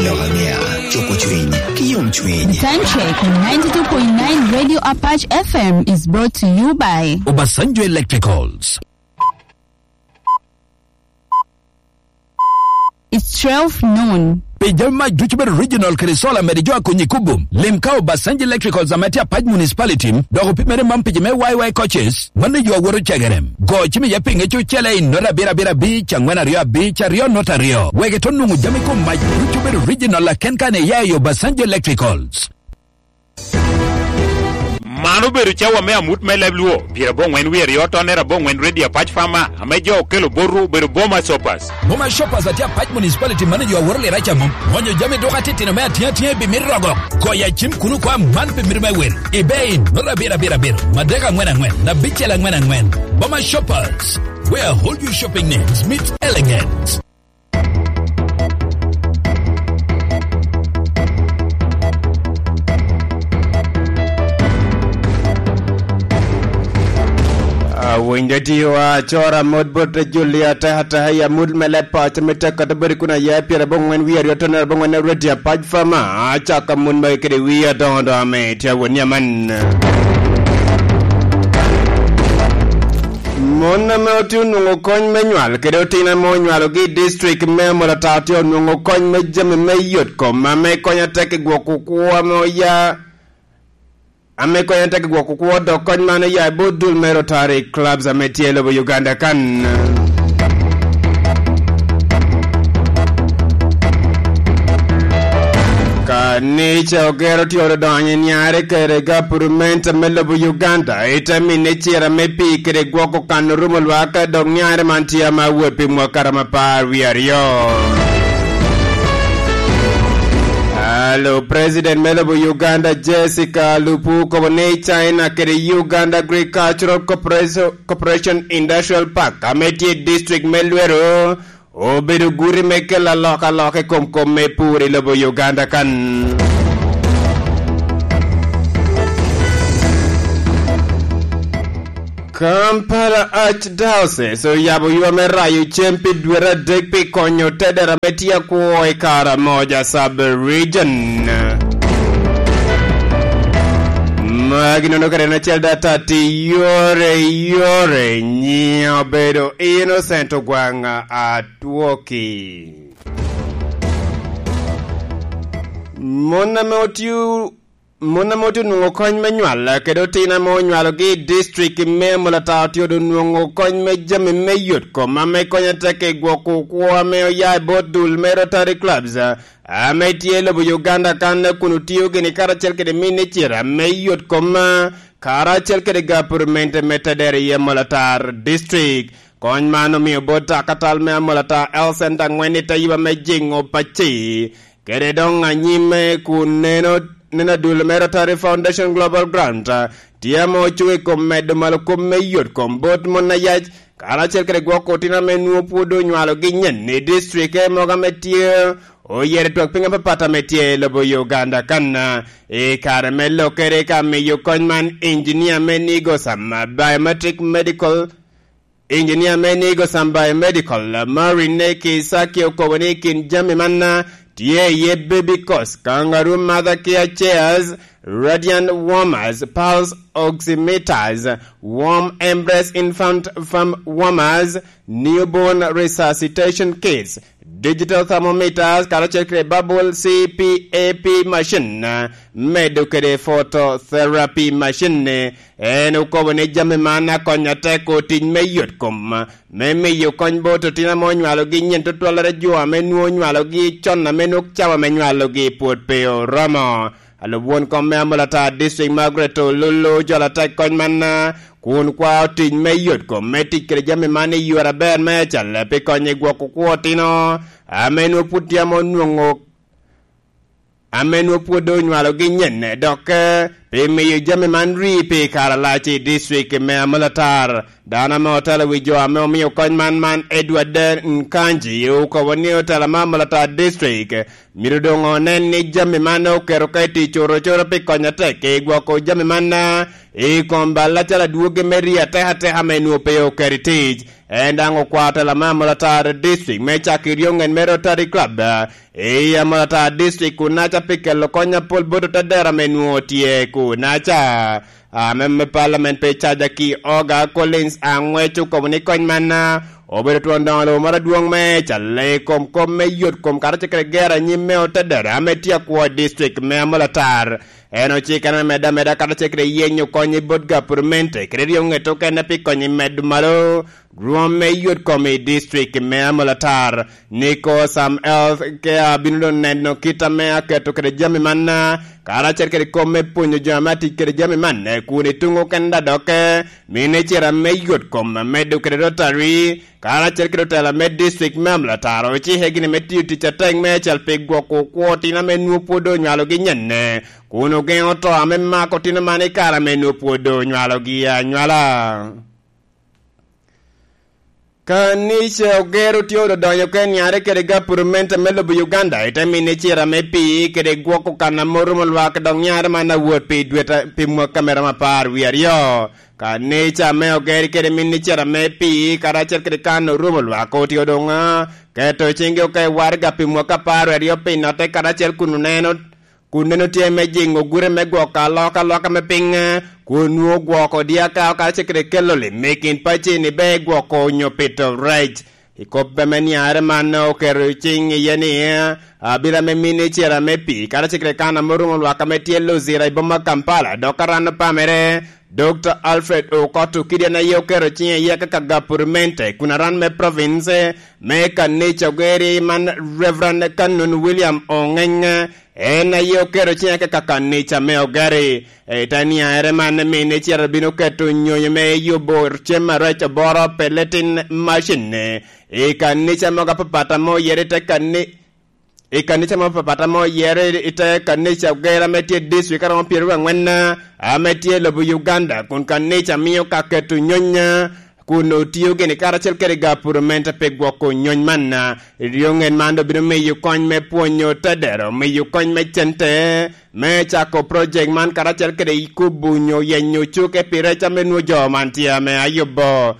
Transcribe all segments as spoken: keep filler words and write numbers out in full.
Lok angea, cuko cwiny, ki yom cwiny. Time check on ninety-two point nine Radio Apache F M is brought to you by Obasanjo Electricals. It's twelve noon. Pi jami mac ducu bedo original kede solar mede jo a konyi kubo. Lim ka Obasanjo Electricals ame tye Apac Municipality, dok opimere man pi jo me Y Y coaches, mano yo awoto cegerem. Go cim iye pi ŋec ocele i nota abiro abiro abic, angwen aryo abic, aryo nota aryo. Wek ito nwoŋo jami kom mac ducu bedo original aken kan iya i Obasanjo Electricals. Man obedo cawa me amut me leb Luo, pyerabongwen wie aryo tonner abongwen Radio Apac Farmer, ame jo okelo botwu obedo Boma Shoppers. Boma Shoppers atye Apac Municipality manager a woro lira ca mom. Wonyo jami duka titino me atiŋ atiŋ i bimit rogo. Goyo acim kuno kwa man pi mito me wil. Ibe in, nota abiro abiro abiro, madek angwen angwen, abicel angwen angwen. Boma Shoppers, where all your shopping needs meet elegance. Awinjo tiwa acora mot bot Julia ateka ateka i amut me leb paco me tek kata bodi kun aye pyerabongwen wie aryo tonner abongwen Radio Apac Farmer, acako amut magi kede wie adoŋo doŋo ame tye awot ni aman. Mon ame otye onwoŋo kony me nywal kede otino ame onywalogi i district me Amolatar tye onwoŋo kony me jami me yot kom ame konyo atek i gwoko kwo ame oya, ame konyo atek i gwoko kwo, dok kony man oya i bot dul me Rotary Clubs ame tye i lobo Uganda kan. Kanica ogero tye odonyo i nyare kede gavumenti me lobo Uganda, ite mine cira me pii kede gwoko kan orumo lwak, dok nyare man tye ame awot pi mwaka romo apar wie aryo. Alo, President me lobo Uganda, Jessica Alupo, okobo ni China kede Uganda Agricultural Corporation, Corporation Industrial Park, ame tye i district me Lwero, obedo guti me kelo alokaloka i kom kop me pur i lobo Uganda kan. Kampala Archdiocese oyabo ywa me rayo cem pi dwete adek pi konyo tedera me tye akwo i kare amoja sub-region. Magi nono kede en acel data ti yore yore nyiŋe obedo Innocent Ogwaŋ Atwoki. Mon ame otio, mon ame otio nwoŋo kony me nywal kede otino ame onywalogi i district me Amolatar otio doŋ nwoŋo kony me jami me yot kom ame konyo atek i gwoko kwo ame oya i bot dul me Rotary Clubs, ame tye i lobo Uganda kan kun otio gini karacel kede minicir ame yot kom, karacel kede gapurmente me tedere i Amolatar District. Kony man omio bot akatal me Amolatar Health Center ŋwen i te yuba me jiŋo pacci, kede doŋ anyim kun neno, neno adul me Rotary Foundation Global Grant tye ame ocuŋ i kom medo malo kop me yot kom bot mon ayac, karacel kede gwoko otino ame nwoŋo pwod onywalogi nyen i district mogo ame tye oyero twak piny apapat ame tye i lobo Uganda kan. I kare me lokere ka miyo kony man, injinia me Nigo Sam Biometric Medical, injinia me Nigo Sam Biomedical, Maureen Kisaki, okobo ni kin jami man tye iye baby cots, kangaroo mother care chairs, radiant warmers, pulse oximeters, warm embrace infant farm warmers, newborn resuscitation kits, digital thermometers, karacel kede bubble C PAP machine, medo kede phototherapy machine. En okobo ni jami man akonyo atek otic me yot kom, me miyo kony bot otino ame onywalogi nyen tutwallere jo ame nwoŋo onywalogi con ame nwoŋo cawa me nywalogi pwod pe oromo. Alub won kom me Amolatar District Margaret Ololo ojolo atek kony man, kun kwao tic me yot kom me tic kede jami man i yore aber me acal pi konyo i gwoko kwo otino ame nwoŋo pwod tye ame onwoŋo, ame nwoŋo pwod onywalogi nyen, dok, eh, pi miyo jami man ri pi kare alac i district me Amolatar. Dano ame otelo wi jo ame omio kony man, man Edward Nkanji, okobo ni otela me Amolatar District myero doŋ onen ni jami man oketo ka i tic corocoro pi konyo atek i gwoko jami man, ah, i kom bal acalo adwogi me ri atekateka ame nwoŋo pe oketo i tic. En daŋ okwao tela me Amolatar District me cako i ryoŋet me Rotary Club, ah, i Amolatar District kunaca pi kelo kony apol bot otedero ame nwoŋo tye kunaca. Ame me Parliament pe caja ki Oga Collins Angwec okobo ni kony man, ah, obedo twon doŋo lobo moro adwoŋ me calo i kom kop me yot kom karacel kede gero anyim me otedero ame tye akwo i district me Amolatar. En ocikere me medde ameda karacel kede yenyo kony i bot gapurmente kede ryo ŋet okene pi kony i medo malo rwom me yot kom i district me Amolatar. Niko Sam Health Care bino doŋ neno kit ame aketo kede jami man, karacel kede kop me pwonyo jo ame atic kede jami man, kun i tuŋ okene dadokke, minicira me yot kom amedo kede Rotary, karacel kede otela me district me Amolatar ocike gini me tiyo tic atek me acel pi gwoko kwo otino ame nwoŋo pwod onywalogi nyenne, kun ogeŋo to ame mako otino man i kare ame nwoŋo pwod onywalogi anywala. Kanica ogero tye odonyo ka niare kede gapurumenta me lobo Uganda, ite mine cira me pii kede gwoko kan ame orumo lwak dok niare man awot pi dweta pi mwaka me romo apar wie aryo. Kanica me ogero kede mine cira me pii karacel kede kan orumo lwak otye odoŋ, ah, keto ciŋgi oka i waraga pi mwaka apar wie aryo pi notte karacel kun oneno kun neno tye me jiŋo gure me gwoko alokaloka me piny, kun nwoŋo gwoko dyaka karacel kede kelo lim i kin pacini be gwoko onyo pito rec. I kop ame niare man oketo ciŋ iye ni, abila me mine cera me pii karacel kede kan ame orumo lwak ame tye Luzira i boma Kampala dok aran opamere, Dokta Alfred Okot Okidi en aye oketo ciŋe iye kaka gapurmente kun aran me province me kanica ogeri man Reverend Canon William Ongeng, en aye oketo ciŋe kaka kanica me ogeri. I te niaere man, mine cito bino keto nyonyo me yubo cem arec oboro peletin macin i kanica mogo apapat ame oyere i te kani-, i kanica mogo apapat ame oyere i te kanica ogera ame tye i district aromo pyeraryo angwen ame tye i lobo Uganda, kun kanica mio ka keto nyony kun otio gini karacel kede gapurumenta pi gwoko nyony man. Ryoŋet man obino miyo kony me pwonyo tedero, miyo kony me cente me cako project man karacel kede kubo nyo yenyo cuke pi rec ame nwo jo man tye ame ayubo.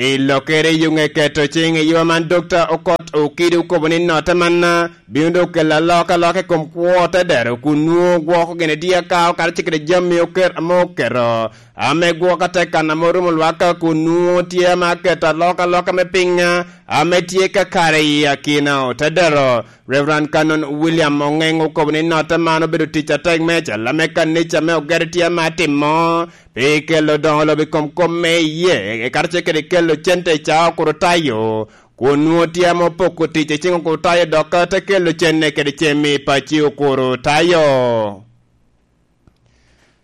I lokere i yuŋe keto ciŋ i yo man Dokta Okot Okidi okobo ni note man bino dok kelo alokaloka i kom kwo tedero kun nwo gwoko gini dyeka karacel kede jami oker ame oketo ame gwoko atek kan ame orumo lwaka kun nwoŋo tye ame aketo alokaloka me piny ame tye kakare i akina otedero. Reverend Canon William Ongeng okobo ni notte man obedo tic atek me acel ame kanica me ogero tye ame atimo pi kelo doŋo lobo i kom kop me iye, karacel kede kelo cente i caa okuro tayo, kun nwoŋo tye ame opoko tic i ciŋ okuro tayo dok te kelo cenne kede cem i paci okuro tayo.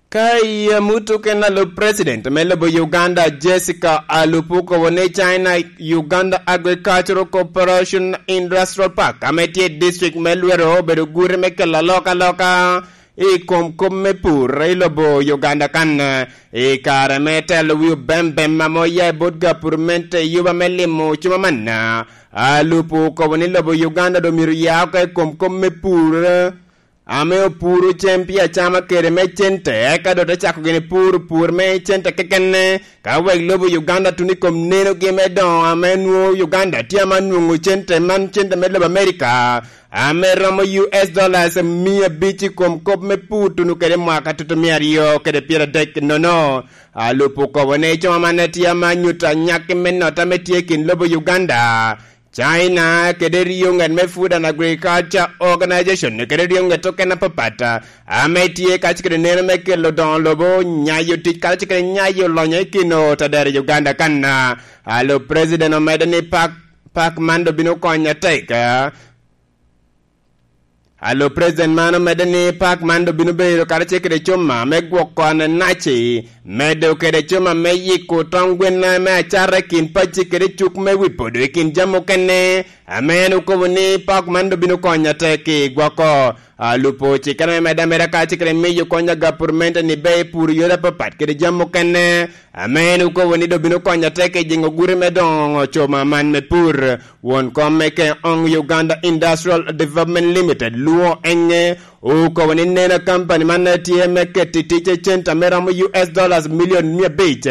Ka i amut okene, alub president me lobo Uganda, Jessica Alupo, okobo ni China Uganda Agricultural Cooperation Industrial Park, ame tye i district me Lwero, obedo gure me kelo alokaloka i kom kop me pur i lobo Uganda kan. I kare me telo wi obembem ame oya i bot gapurment i yuba me limo cuma manna, Alupo okobo ni lobo Uganda doŋ myero ya oko i kom kop me pur ame opuro cem pi acama kede me cente, eka doŋ te cako gini puro pur me cente kekene, ka wek lobo Uganda tuno i kom nenogi me doŋo ame nwoŋo Uganda tye ame anwoŋo cente man, cente me lobo Amerika, ame romo U S dollars mia abic i kom kop me pur tuno kede mwaka tutu mia aryo kede pyeradek nono. Alupo okobo ni cuma man tye ame anyuto anyaki me nota ame tye i kin lobo Uganda, China kede ryo ŋet me Food and Agriculture Organization kede ryo ŋet okene apapat ame tye kacel kede neno me kelo doŋo lobo, nyayo tic kacel kede nyayo lonyo i kin otadero i Uganda kan. Alo president omedde ni pak, pak man doŋ bino konyo atek. Alo president man omedde ni pak man doŋ bino bedo karacel kede cuma me gwoko ananaci Medo kede cuma me yiko tong gwen me acata i kin pacci kede cuk me wi podo i kin jami okene, ame en okobo ni pak man doŋ bino konyo atek i gwoko. Alupo cikkere me medde ameda ka cikkere miyo kony a gapurmente ni be pur yore apapat kede jami okene, ame en okobo ni doŋ bino konyo atek i jiŋo gure me doŋo cuma man me pur. Won kom me Keong Uganda Industrial Development Limited, Luo Enge, okobo ni nena kampani man tye me keto i tic centa me romo U S dollars milion mia abic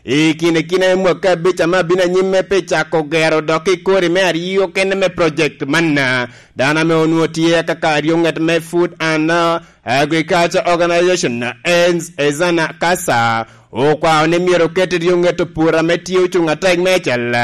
i kine kine mwaka abic ame abino anyim me pi cako gero dok i kori me aryo kene me project man. Dano ame onwoŋo tye kaka aryo ŋet me Food and, uh, Agriculture Organization, Ezana Kasa, okwao ni myero oket i ryo ŋet opur ame tye ocuŋ atek meicel,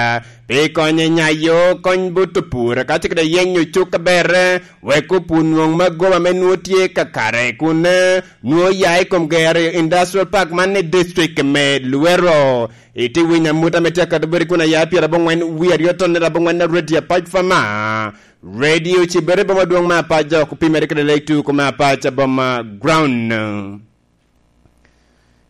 pi konyo i nyayo kony bot opur, ka cik daŋ yenyo cuk aber, wek opur nwoŋ magoba ame nwoŋo tye kakare, kun, eh, nwoŋo ya i kom gero industrial park man i district me Luweero. Iti winyo amut ame tye akato boti kun aya pyerabongwen wie aryo tonne rabongwen a Radio Apac Fama. Radio Cibere boma dwoŋ me Apac, dok opimere kede Lake Two kome Apac boma ground.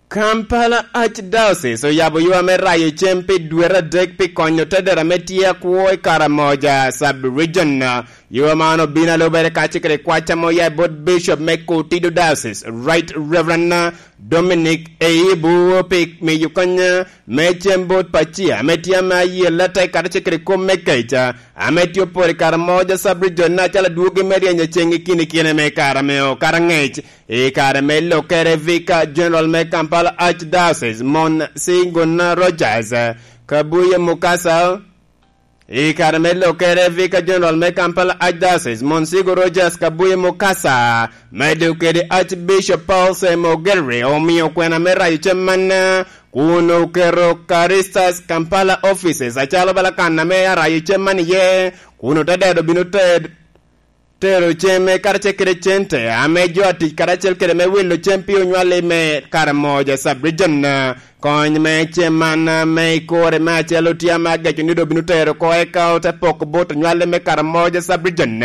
Kampala Archdiocese oyabo ywa me rayo cem pi dwete adek pi konyo tedera ame tye akwo i Karamoja Sub-Region. Ywa man obino alubere kacel kede kwac ame oya i bot Bishop me Kotido Diocese, Right Reverend Dominic Eibu, pi miyo kony me cem bot pacia ame tye ame ayelle atek kacel kede kop me keca ame tye oporo i Karamoja Sub-Region acalo adwogi me ryeny aceŋ i kine kine me kare ame okato angec. I kare me lokere, Vicar General me Kampala Archdiocese, Monsignor Rogers Kabuye Mukasa, i kare me lokere, Vicar General me Kampala Archdiocese, Monsignor Rogers Kabuye Mukasa, medo kede Archbishop Paul Semo Ogelre, omio kwena me rayo cem man, kun oketo Caristas Kampala Offices acalo bala kan ame arayo cem man iye, kun otedero bino ted-, tero cem karacel kede cente ame jo atic karacel kede me wilo cem pi onywalli me Karamoja Sub-Region. Kony me cem man me ikore me acel otye ame ageco ni doŋ bino tero oko eka ote poko bot onywalli me Karamoja Sub-Region.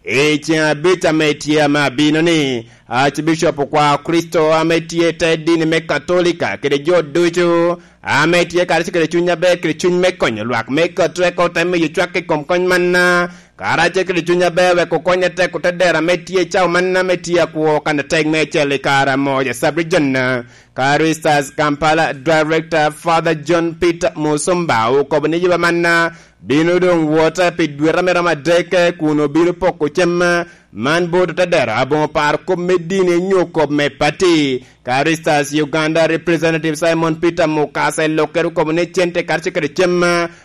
I ceŋ abic ame tye ame abino ni, Archbishop okwao Kricito ame tye i te dini me Katolika kede jo ducu ame tye karacel kede cuny aber kede cuny me konyo lwak me Katolika ote miyo cwak i kom kony manna, karacel kede cuny aber wek okony atek otedero ame tye i cawa manna ame tye akwo kan atek me acel i Karamoja Sub-Region. Caristas Kampala Director Father John Peter Musumba okobo ni yuba manna bino doŋ wota pi dwete ame romo adek, kun obino poko cem man bot otedero aboŋo paro kop me dini nyo kop me pati. Caristas Uganda Representative Simon Peter Mukasa i lokkere okobo ni cente karacel kede cem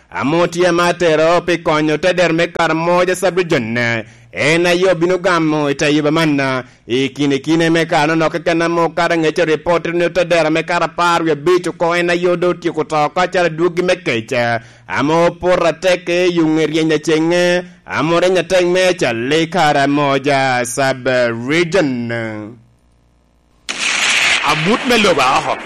ame otye ame atero pi konyo otedero me Karamoja Sub-Region, en aye obino gamo i te yuba manna. I kine kine me kare-nono keken ame okato angec, ripot ni otedero me kare apar wie abic oko en aye doŋ otyeko to oko acalo adwogi me kec, ame opoto atek i yuŋ eryeny aceŋe, ame oreny atek me acalli Karamoja Sub-Region. Amut me lobo aoko.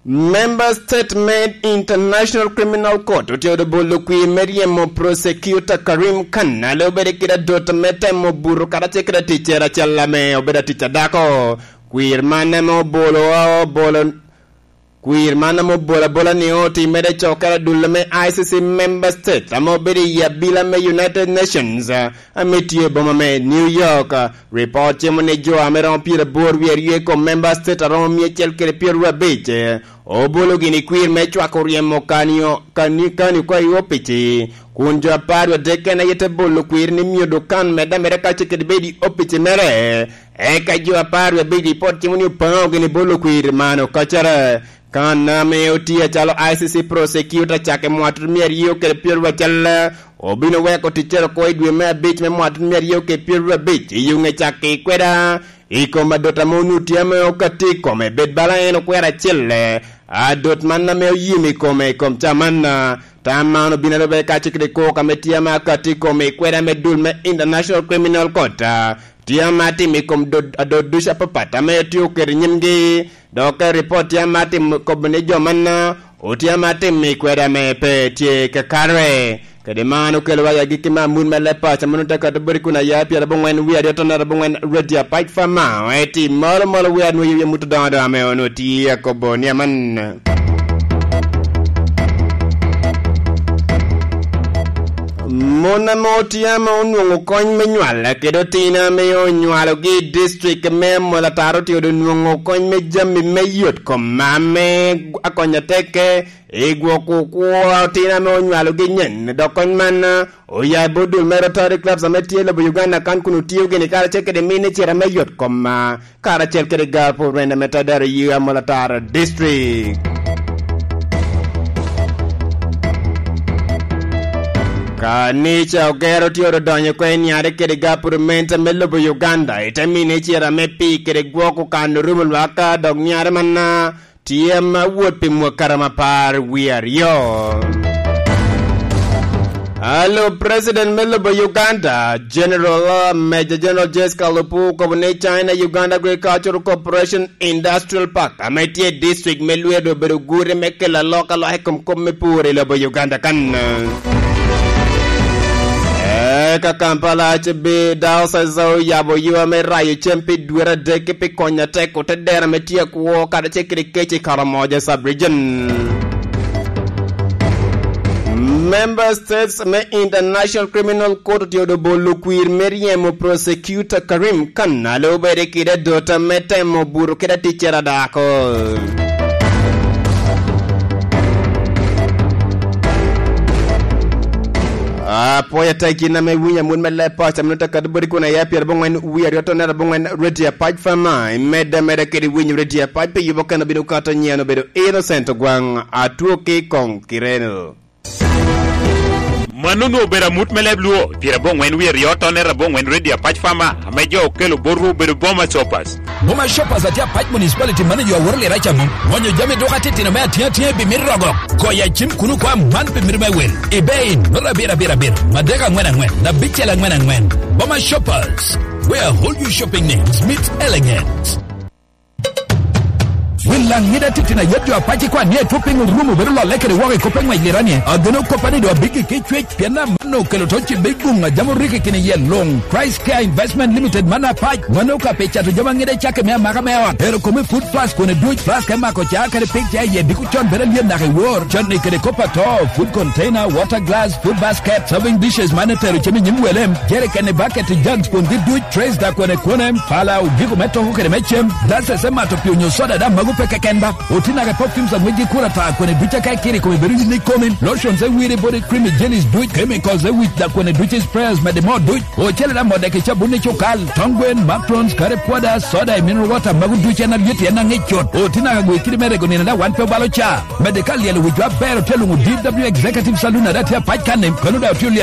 Member State me International Criminal Court otye odo bolo kwir me ryemo Prosecutor Karim Khan, ale obedo kede adot me temo buto karacel kede ticere acel ame obedo atic a dako. Kwir man ame obolo, obolo, kwir man ame obolo abola ni otimmere i cokere adulle me I C C Member State ame obedo i abila me United Nations, ame tye i boma me New York. Ripot cimo ni jo ame romo pyeraboro wie aryo i kom member state aromo mia acel kede pyeraryo abic, obolo gini kwir me cwako ryemo kanio, kani, kani oko i opici, kun jo apar wie adek en aye te bolo kwir ni myero kan medde ameda kacel kede bedo i opici mere. Eka jo apar wie abic ripot cimo ni opaŋo gini bolo kwir man okacere. Kan ame otye acalo I C C prosecutor cak i mwatut mia aryo kede pyeraryo acel, obino weko ticcere oko i dwe me abic me mwatut mia aryo kede pyeraryo abic i yuŋe cak i kweda, i kom adot ame onut tye ame okatti i kome, bed bala en okwero acel, adot man ame oyim i kome i kom ca man. Tam man obino alube kacel kede kok ame tye ame akatti i kome i kweda me dul me International Criminal Court, tye ame atimo i kom dot, adot ducu apapat ame otye oketo i nyimgi. Dok ka ripot tye ame atimo kobo ni jo manna Otyeno atimmi kwede ame pe tye kakare. Kede man okelo wa i agikki me amut me leb paco, mano te kati boti kun aya pyerabongwen wie aryo tonere abongwen Radio Apac Fama, eti malo malo wie anwoyo wie mut odoŋo doŋ ame onwo tye akobo ni aman. Mon ame otye ame onwoŋo kony me nywal kede otino ame onywalogi i district me Amol Ataro otye onwoŋo kony me jami me yot kom ame akonyo tekke i gwoko kwo otino ame onywalogi nyen. Dok kony man oya i bot dul me Rotary Clubs ame tye i lobo Uganda kan kun otio gini karacel kede mine cira me yot kom karacel kede gar pwod wende me Tadaro i Amol Ataro District. Kanica Ogero tye odonyo oko i niare kede gar pwod mente me lobo Uganda, i te mine cira me pii kede gwok okano rumo lwaka, dok niare manna tye ma wot pi mwakara mapar wie aryo. Alo President me lobo Uganda, General, Major General Jessica Alupo okobo ni China Uganda Agricultural Cooperation Industrial Park, ame tye i district me Lweru, obedo gure me kelo alokaloka i kom kop me pur i lobo Uganda kan. Eka Kampala C B Diocese oyabo ywa me rayo cem pi dwete adek pi konyo atek ote dero ame tye akwo kadi cekere kec i Karamoja Sub-Region. Member States me International Criminal Court otye odo bolo kwir me ryemo Prosecutor Karim Khan a lube kede adota me temo buto kede aticere a dako. Apwoyo atek in ame iwinyo amut me leb paco, amino te kadi boti kun aya pyerabongwen wie aryo tonere abongwen Radio Apac Fama, imedde ameda kede winyo Radio Apac pi yubo keno bino kato nyen obedo Innocent Ogwaŋ, atwo ki i koŋ Kireno. Mano onwoŋo obedo amut me leb Luo, pyerabongwen wie aryo tonere abongwen Radio Apac Fama, ame jo okelo botwu obedo Boma Shoppers. Boma Shoppers atye Apac Municipality Manager Awor Lira Camu. Ŋonyo jami duka titino me atyeŋ atyeŋ pi mito rogo. Goyo acim kuno kwa man pi mito me wel. Ibe in, nota abiro abiro abiro, madek aŋwen aŋwen, abicel aŋwen aŋwen. Boma Shoppers, where all your shopping needs meet elegance. Wil laŋ ŋida titino ayet jo apac ikwan ni etwo piny orumo bedo lolle kede woko i kop eŋwec lirani. Ageno koppa ni do abiggi ki cwec. Pien amanno okelo to cibbe i guŋ a jami oriko i kine yel luŋ. Christ Care Investment Limited man apac, mano ka pe cato jami aŋide cakke me amaka me ot. Ero kome food flask kone duc, flask me mako ca kede pig ca iye diko con bedo alyet naka i wor. Con i kede kop ato, food container, water glass, food basket, serving dishes man etero cem i nyim wele, jerrycan i bucket i jugs kun gi duc, trays da kone kone, pala, ogiko me toko kede me cem, glasses me mato pi onyo soda da mago pe keken ba. Oti naka perfumes a ŋwecgi kura ta kone duc aka ikiri kome bedo yin ikomi. Lotions e wiri body cream i jellies duc, chemicals e wic da kone duc i sprayers mede mo duc. Ocele da mode ki cabun i cukal, tong gwen, macarons, curry powder, soda i mineral water mago duc en alyet en aŋic cut. Oti naka gwe kidi me rego nino da wan pe obalo ca. Mede ka lyelo wicwa aber otye luŋo D W Executive Saloon ada tye apac kanni, kono da otye